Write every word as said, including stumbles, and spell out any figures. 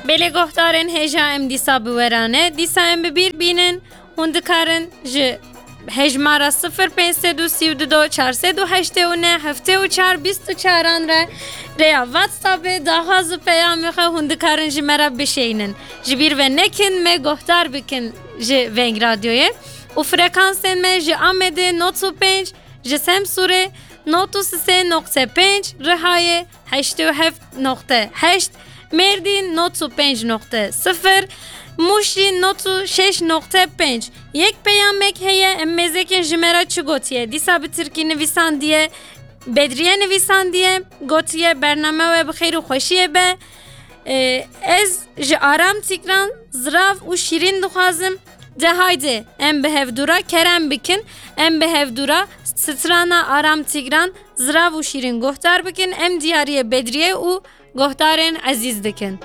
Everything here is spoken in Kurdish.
Belê guhdarên hêja, em dîsa bi we re ne. Dîsa em bi bîr bînin. Hûn dikarin ji hejmara sifir pênc sed û sî û du çar sed û heştê û neh heftê û çar bîst û çaran re rêya WhatsAppê daxwaz û peyamê xwe hûn dikarin ji me re bişeynin. Ji bîr ve nekin, me guhdar bikin ji Veng Radyoyê. Û frekansên me ji Amedê nod û pênc, ji Semsûrê nod û sê nokte pênc, Rihayê heştê û heft nokte heşt, Mêrdîn nod û pênc nokte sifir, Mûşî nod û şeş nokte pênc. Yek peyamek heye, em mêzekin ji me re çi gotiye. Dîsa bi tirkî nivîsandiye, Bedriye nivîsandiye, gotiye, bername we bi xêr û xweşiyê be. Ee, ez ji Aram Tîgran zirav û şîrîn dixwazim. De haydi, em bi hevdû re kerem bikin, em bi hevdû re strana Aram Tîgran zirav û şîrîn guhdar bikin, em diyariyê Bedriye û guhdarên ezîz dikin.